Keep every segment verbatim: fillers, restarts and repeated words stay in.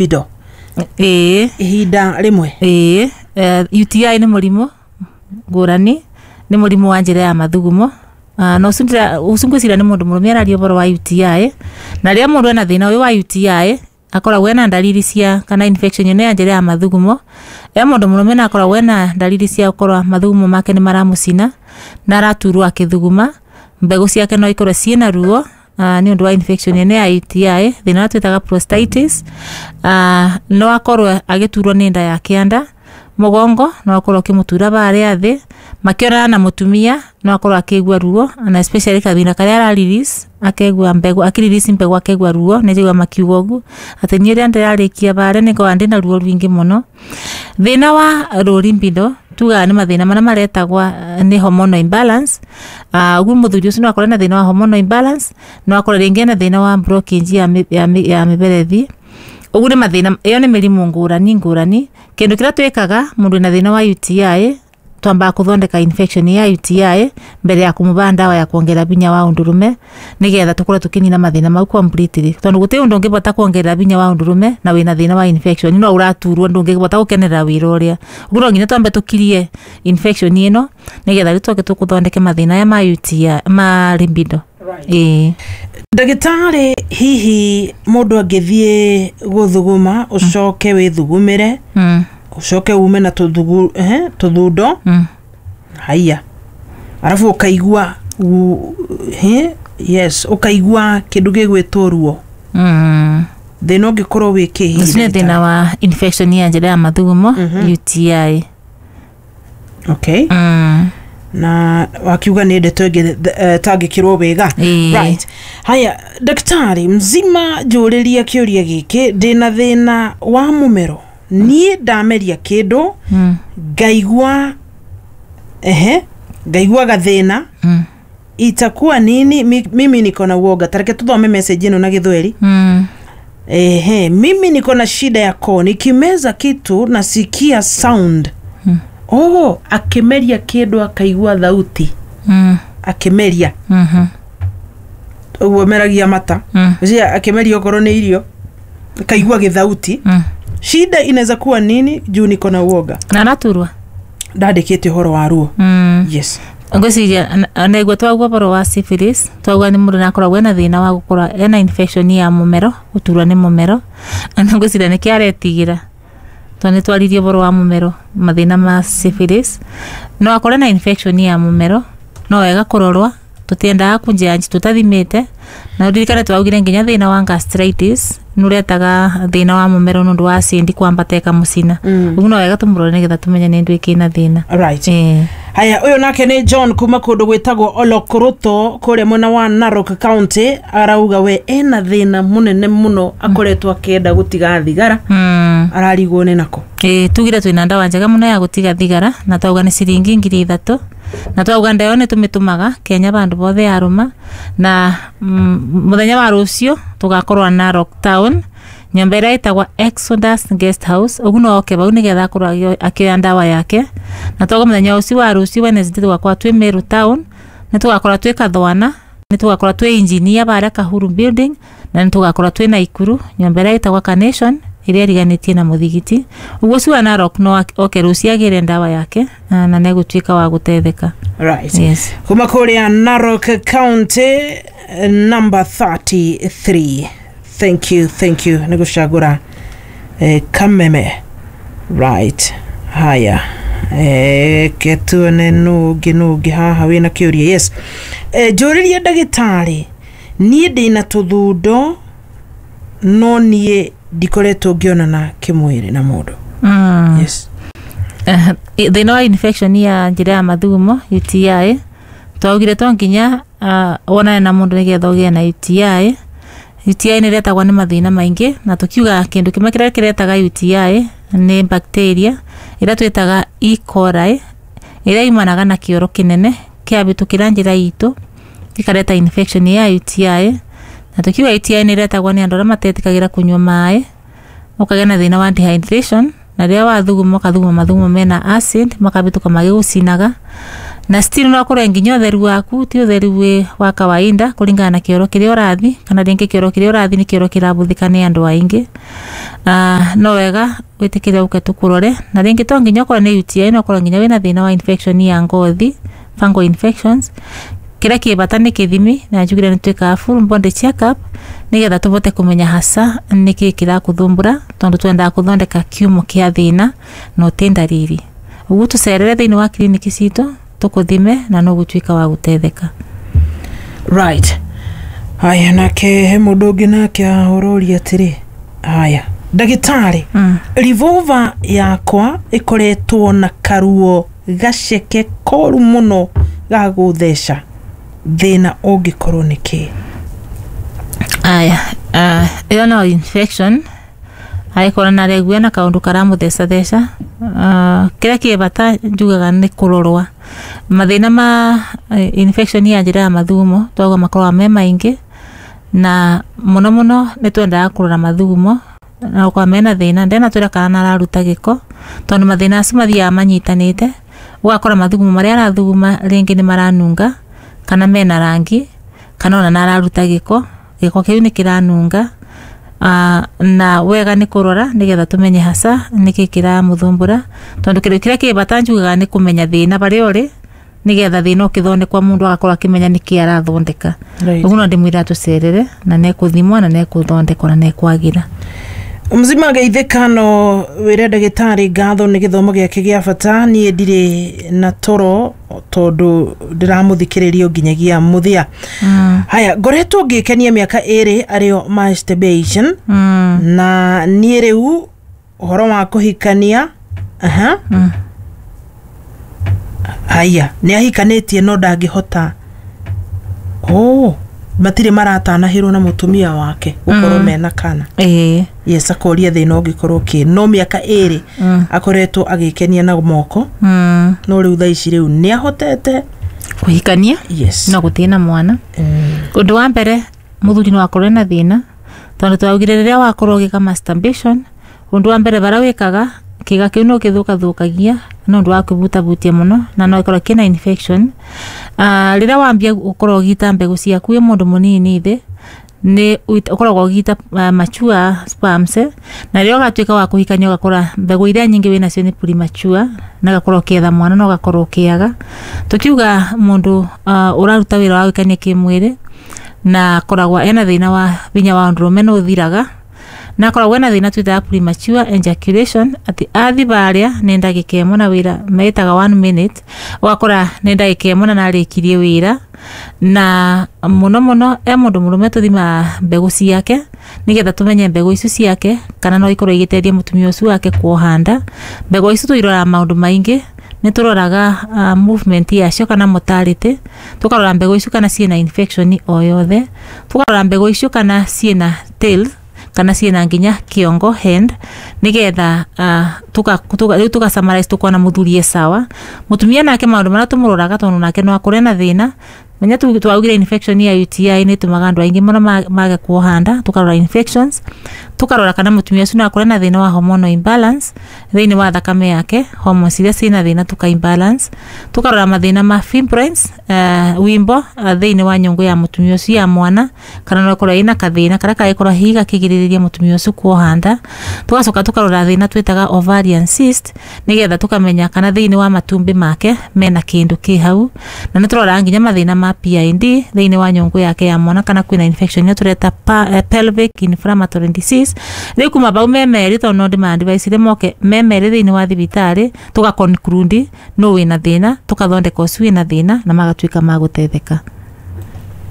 Libido Ĩĩ. Ihinda rĩmwe. Ĩĩ, eh, U T I nĩ mũrimũ ngũrani, nĩ mũrimũ wa njĩra ya mathugumo. Uh, na ũcio ndĩra- ũcio ngwĩciria nĩ mũndũ mũrũme araria ũhoro wa U T I. Na rĩrĩa mũndũ ena thĩna ũyũ wa U T I, akoragwo ena ndariri cia kana infection ĩno ya njĩra ya mathugumo. E mũndũ mũrũme na akoragwo ena ndariri cia gũkorwo mathugumo make nĩ maramũcina na araturwo akĩthuguma, mbegũ ciake no ikorwo ciĩna ruo, uh, nĩ ũndũ wa infection ĩno ya U T I, thĩna ũrĩa twĩtaga prostatitis. uh, no akorwo agĩturwo nĩ nda ya kĩanda, mũgongo no akorwo ũkĩmũtura barĩa thĩ makĩonana na mũtumia, no akorwo akĩigua ruo, na especially kathina karĩa ara release, akegua mbegũ akĩ-release mbegũ, akegua ruo. Nĩ njigua makiuga ũguo atĩ niĩ rĩrĩa ndĩrarĩkia barĩa nĩ ngoragwo ndĩna ruo rũingĩ mũno. Thĩna wa low libido tugaga nĩ mathĩna marĩa maretagwa eh, nĩ hormonal imbalance. uh, ũguo mũthuri ũcio no akorwo na thĩna wa hormonal imbalance, no akorwo rĩngĩ ena thĩna wa blockage ya, mĩ- ya, mĩ- ya mĩberethi. Ũguo nĩ mathĩna, ĩyo nĩ mĩrimũ ngũrani ngũrani. Kĩndũ kĩrĩa twĩkaga mũndũ wĩna thĩna wa U T I, twambaga kũthondeka infection ya U T I mbere ya kũmũba ndawa ya kuongerera binya wa ũndũrũme, nĩgetha tũkorwo tũkĩnina mathĩna mau completely, tondũ gũtirĩ ũndũ ũngĩbota kuongerera binya wa ũndũrũme na wĩna thĩna wa infection, no ũraturwo, ndũngĩbota gũkenerera wĩra ũrĩa. Ũguo no nginya twambe tũkirie infection ĩno, nĩgetha rĩu tũke tũkũthondeke mathĩna aya ma U T I, ma libido. Ĩĩ. Ndagĩtarĩ, hihi mũndũ angĩthiĩ gũthuguma, ũcoke wĩthugumĩre, mm. ũcoke ume na tũthugu eh, tũthundo, Mm. haiya, arabu ũkaigua u- he, yes, ũkaigua kĩndũ gĩgwĩtwo ruo, Mm. thĩna ũngĩkorwo wĩ kĩ hihi? Ũcio nĩ thĩna wa infection ya njĩra ya mathugumo, U T I. Okay. Mm. Na wakiuga nĩ ndeto ĩngĩ eh, tangĩkĩrwo wega. Ĩĩ. Right, haya, ndagĩtarĩ mzima, njũrĩria kĩũria gĩkĩ: ndĩna thĩna wa mũmero, niĩ ndameria kĩndũ, Mm. ngaigua ehe ngaigua gathĩna, Mm. itakuwa nini? Mi, mimi niko na uoga. Tareke tuthome message ĩno na Gĩthweri. Mm. Ehe, "Mimi niko na shida ya koo, nikimeza kitu nasikia sound." Mm. Oh, akimeria kĩndũ akaigua thauti. Mm. Akimeria, Mhm. ũguo meragia mata. Mm. Cia akimeria okorwo nĩ irio akaigua gĩthauti. Mm. Shida inaweza kuwa nini? Juu niko na uoga. Na araturwa. Ndandĩkĩte ũhoro wa ruo. Mm. Yes. Ngwĩciria naigua twauga ũhoro wa syphilis, twauga nĩ mũndũ nakoragwo ena thĩna wa gũkorwo ena infection ya mũmero, gũturwo nĩ mũmero, na ngwĩciria nĩkĩo aretigĩra, tondũ nĩ twaririe ũhoro wa mũmero, mathĩna ma syphilis. No akorwo na infection ya mũmero, no wega kũrorwa, tũtiendaga kũnjanji tũtathimĩte. Na ũririkane twaugire nginya thĩna wa gastritis nĩ ũretaga thĩna wa mũmero nĩ ũndũ wa acid kwambata ĩkamũcina. Mm. Ũguo no wega tũmũrore nĩgetha tũmenye nĩ ndũ ĩkĩna thĩna. Right. Ĩĩ. Haya, ũyũ nake nĩ John kuma kũndũ gwĩtagwo Olokoroto kũrĩa mwena wa Narok County. Arauga we ena thĩna mũnene mũno, akoretwo akĩenda gũtiga thigara, Mm. ararigwo nĩ nako. Ĩĩ, tugire twĩna ndawa njega mũno ya gũtiga thigara, na twauga nĩ ciringi ngiri ithatũ, na twauga ndawa ĩyo nĩ tũmĩtũmaga Kenya bandũ bothe yarũma. Na mm, mũthenya wa rũciũ tũgakorwo Narok Town, nyũmba ĩrĩa ĩtagwo Exodus Guest House. Ũguo no oke bau nĩgetha akorwo akĩo- akĩoya ndawa yake. Na twauga mũthenya ũcio wa rũciũ, Wednesday, tũgakorwo twĩ Meru Town, nĩ tũgakorwo twĩ Kathwana, nĩ tũgakorwo twĩ Engineer barĩa Kahuru Building, na nĩ tũgakorwo twĩ Naikuru, nyũmba ĩrĩa ĩtagwo Carnation ĩrĩa ĩriganĩtie na mũthigiti. Ũguo ũcio wa Narok no oke rũciũ agĩre ndawa yake, na na nĩegũtuĩka wa gũteithĩka. Right. Yes. Kuma kũrĩa Narok County, eh, number thirty-three, thank you, thank you nĩ gũcagũra eh, Kameme. Right, haya, eh, ke tuone nũ ũngĩ nũ ũngĩ haha wĩna kĩũria. Yes, eh, njũrĩria ndagĩtarĩ, niĩ ndĩna tũthundo no niĩ ndikoretwo ngĩonana kĩmwĩrĩ na mũndũ. Mm. Yes. Eh, thĩna wa infection ya njĩra ya mathugumo, U T I, twaugire to nginya uh, wonane na mũndũ nĩgetha ũgĩe na U T I. U T I nĩ ĩretagwo nĩ mathĩna maingĩ, na tũkiuga kĩndũ kĩmwe kĩrĩa kĩretaga U T I nĩ bacteria ĩrĩa twĩtaga E. coli, ĩrĩa yumanaga na kĩoro kĩnene kĩabĩtũkĩra njĩra itũ ĩkareta infection ya U T I. Na tũkiuga U T I nĩ ĩretagwo nĩ andũ arĩa matetĩkagĩra kũnyua maĩ, ũkagĩa na thĩna wa dehydration, na rĩrĩa wathuguma ũkathuguma mathugumo mena acid makabĩtũka magĩgũcinaga. Na still no akorwo nginya ũtheru waku ti ũtheru wĩ wa kawaida kũringana na kĩoro kĩrĩa ũrathi, kana rĩngĩ kĩoro kĩrĩa ũrathi nĩ kĩoro kĩrabũthĩka nĩ andũ aingĩ. uh, no wega wĩtĩkĩre ũke tũkũrore, na rĩngĩ to nginya ũkorwo nĩ U T I, no ũkorwo nginya wĩna thĩna wa infection ya ngothi, fungal infections. Kĩrĩa kĩ bata nĩ kĩthimi, na njugire nĩ twĩkaga full body check up nĩgetha tũbote kũmenya hasa nĩkĩ kĩrakũthumbũra, tondũ twendaga kũthondeka kiumo kĩa thĩna no ti ndariri. Ũguo tũcerere thĩinĩ wa kiriniki citũ tũkũthime na no gũtuĩka wa gũteithĩka. Right. Haya, nake he mũndũ ũngĩ nake ahũrũria atĩrĩ, haya ndagĩtarĩ, mm. revolver yakwa ĩkoretwo na karuo gaceke koru mũno ga gũtheca, thĩna ũngĩkorwo nĩ kĩ? Aya, ĩyo no infection agĩkorwo na aregua na kaũndũ karamũthecatheca. Uh, kĩrĩa kĩ bata njugaga nĩ kũrorwa mathĩna ma infection ya njĩra ya mathugumo, twauga makoragwo me maingĩ, na mũno mũno nĩ twendaga kũrora mathugumo na gũkorwo mena thĩna ndenatwĩra kana nararuta gĩko, tondũ mathĩna acio mathiaga manyitanĩte. Ũgakora mathugumo marĩa arathuguma rĩngĩ nĩ maranunga kana mena rangi, kana ona nararuta gĩko, gĩko kĩu nĩ kĩranunga. Uh, na wega nĩ kũrora nĩgetha tũmenye hasa nĩkĩ kĩramũthumbũra, tondũ kĩndũ kĩrĩa kĩ bata njugaga nĩ kũmenya thĩna barĩa ũrĩ, nĩgetha thĩna ũkĩthondekwa mũndũ agakorwo akĩmenya nĩkĩ arathondeka. Right. Ũguo no ndĩmwĩra tũcerere na nekũthimwa na nekũthondekwa na nekwagĩra. Mzima geithĩka no wĩre ndagĩtarĩ ngatho nĩ gĩthomo gĩake gĩa bata. Niĩ ndirĩ na toro tondũ ndĩramũthikĩrĩria nginyagia mũthia. Mm. Haya, ngoretwo ngĩkenia mĩaka ĩrĩ arĩo masturbation. Mm. Na niĩ rĩu ũhoro wa kũhikania, aha. Mm. Haya, nĩ ahikanĩtie no ndangĩhota. Oh, matirĩ maratanahĩrwo na mũtumia wake gũkorwo Mm. mena kana. Ĩĩ. Yes, akoria thĩna ũngĩkorwo kĩ, no mĩaka ĩrĩ Mm. akoretwo agĩkenia na moko. Mm. No rĩu thaa ici rĩu nĩ ahotete kũhikania. Yes. No gũtirĩ na mwana. Mm. Ũndũ wa mbere mũthuri no akorwo na thĩna, tondũ twaugire rĩrĩa wakorwo ũgĩka masturbation, ũndũ wa mbere bara wĩkaga kĩga kĩu no kĩthũkathũkagia no ũndũ wa kwĩbutabutia mũno, na no ĩkorwo kĩna infection. Uh, rĩrĩa wambia gũkorwo ũgĩita mbegũ ciaku wĩ mũndũ mũnini thĩ, nĩ ũkoragwo ũgĩita uh, mature sperms, na rĩrĩa ũgatuĩka wa kũhikania ũgakora mbegũ iria nyingĩ wĩnacio nĩ premature, na ũgakorwo ũkĩetha mwana na ũgakorwo ũkĩaga. Tũkiuga mũndũ uh, ũraruta wĩra wa gwĩkenia kĩmwĩrĩ na akoragwo ena thĩna wa hinya wa ũndũrũme nĩ ũthiraga, na akoragwo ena thĩna twĩtaga premature ejaculation, atĩ athi barĩa nĩ ndagĩka ĩmwe na wĩra metaga one minute, ũgakora nĩ ndagĩka ĩmwe na narĩkirie wĩra. Na mũno mũno e mũndũ mũrũme tũthimaga mbegũ ciake nĩgetha tũmenye mbegũ icio ciake kana no ikorwo igĩteithia mũtumia ũcio wake kuoha nda. Mbegũ icio tũiroraga maũndũ maingĩ, nĩ tũroraga uh, movement yacio kana mortality, tũkarora mbegũ icio kana ciĩna infection o yothe, tũkarora mbegũ icio kana ciĩna tail kana ciĩna nginya kĩongo hand, nĩgetha uh, tuka tuka rĩu tuka summarize tukona mũthuri e sawa. Mũtumia nake maũndũ marĩa tũmũroraga, tondũ nake no akore na thĩna. Menya tu twaugire infection ya U T I nĩ ĩtũmaga andũ aingĩ mũno mage kuoha nda, tũkarora infections, tũkarora kana mũtumia ũcio no akore na thĩna wa hormonal imbalance thĩinĩ wa thakame yake, hormones iria ciĩna thĩna tuka imbalance, tũkarora mathĩna ma fibroids, uh, wimbo uh, thĩinĩ wa nyũngũ ya mũtumia ũcio ya mwana, kana no ĩkorwo ĩna kathĩna karĩa kangĩkorwo hihi gakĩgirĩrĩria mũtumia ũcio kuoha nda. Tũgacoka tũkarora thĩna twĩtaga ovarian cyst, nĩgetha tũkamenya kana thĩinĩ wa matumbĩ make mena kĩndũ kĩ hau, na nĩ tũroraga nginya mathĩna ma P I D thĩinĩ wa nyũngũ yake ya mwana, kana kwĩna infection ĩrĩa tũreta pa, pelvic inflammatory disease. Rĩu kuma bau me merĩ, tondũ no ndĩma-advise moke me merĩ thĩinĩ wa thibitarĩ, tũga conclude no wĩna thĩna, tũkathondeka ũcio wĩna thĩna na magatuĩka ma gũteithĩka.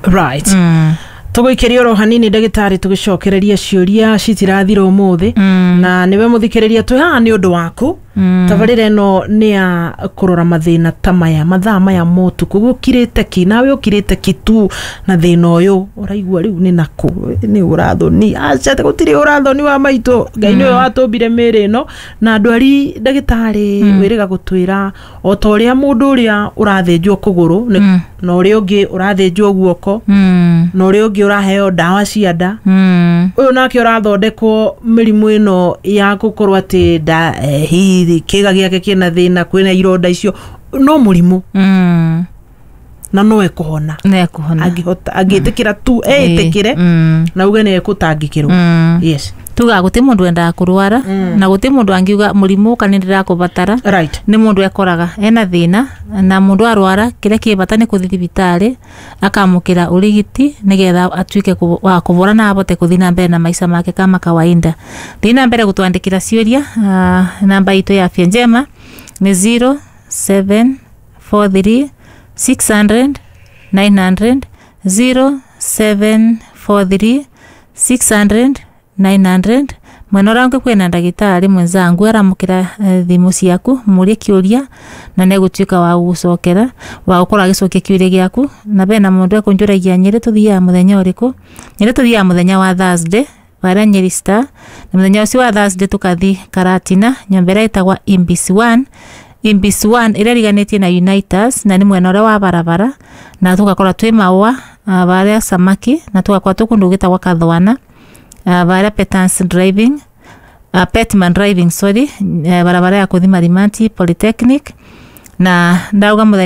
Right. Mm. Tũgũikĩria oro hanini ndagĩtarĩ, tũgĩcokereria ciũria citirathira ũmũthĩ. Mm. Na nĩwe mũthikĩrĩria twĩ haha nĩ ũndũ waku. Mm. Tabarĩra ĩno nĩ ya kũrora mathĩna ta maya, mathaa maya ma ũtukũ gũkirĩte ki, nawe ũkirĩte ki tu na thĩna ũyũ ũraigua rĩu nĩ nakũ, nĩ ũrathoni, aca gũtirĩ ũrathoni wa maitũ, Ngai nĩwe watũmbire mĩĩrĩ ĩno. Na ndwari ndagĩtarĩ Mm. wĩrĩga gũtwĩra o ta ũrĩa mũndũ ũrĩa ũrathĩnjwo kũgũrũ nĩ- Mm. na ũrĩa ũngĩ ũrathĩnjwo guoko, Mm. na ũrĩa ũngĩ ũraheo ndawa cia nda, Mm. ũyũ nake ũrathondekwo mĩrimũ ĩno ya gũkorwo atĩ nda eh, hihi kĩga gĩake kĩna thĩna, kwĩna ironda icio, No mũrimũ Mm. na no ekũhona. Nekuhona. Angĩhota, angĩtĩkĩra tu, etĩkĩre Mm. na uge nĩ ekũtangĩkĩrwo. Mm. Yes. Tugaga guti mundu endaga kurwara, na guti mundu angiuga murimu uka ni ndirakũbatara. Right. Nĩ mũndũ ekoraga ena thĩna, na mũndũ arwara kĩrĩa kĩ bata nĩ kũthiĩ thibitarĩ akamũkĩra ũrigiti nĩgetha atuĩke kũ- wa kũvora na abote kũthiĩ na mbere na maica make kama kawaida. Thiĩ na mbere gũtwandĩkĩra ciũria. ah, namba itũ ya Afya Njema nĩ zero seven four three six hundred nine hundred, zero seven four three six hundred nine hundred. Mwena ũrĩa ũngĩ kwĩna ndagĩtarĩ mwenzangu aramũkĩra eh, thimũ ciaku, mũrie kĩũria na nĩegũtuĩka wa gũgũcokera, wa gũkorwo agĩcokia kĩũria gĩaku. Na bena mũndũ ekũnjũragia Nyĩrĩ tũthiaga mũthenya ũrĩkũ. Nyĩrĩ tũthiaga mũthenya wa Thursday barĩa Nyeri Star, na mũthenya ũcio wa Thursday tũkathi Karatina, nyũmba ĩrĩa ĩtagwa Imbis one, Imbis one ĩrĩa ĩriganĩtie na Unitas, na nĩ mwena ũrĩa wa barabara, na tũgakorwo twĩ Maũa ah, barĩa Samaki, na tũgakorwo twĩ kũndũ gwĩtagwo Kathwana, uh, barĩa Petans Driving, uh, Petman Driving, sorry, uh, barabara ya kuthi Marimanti Polytechnic, na ndauga mũthenya.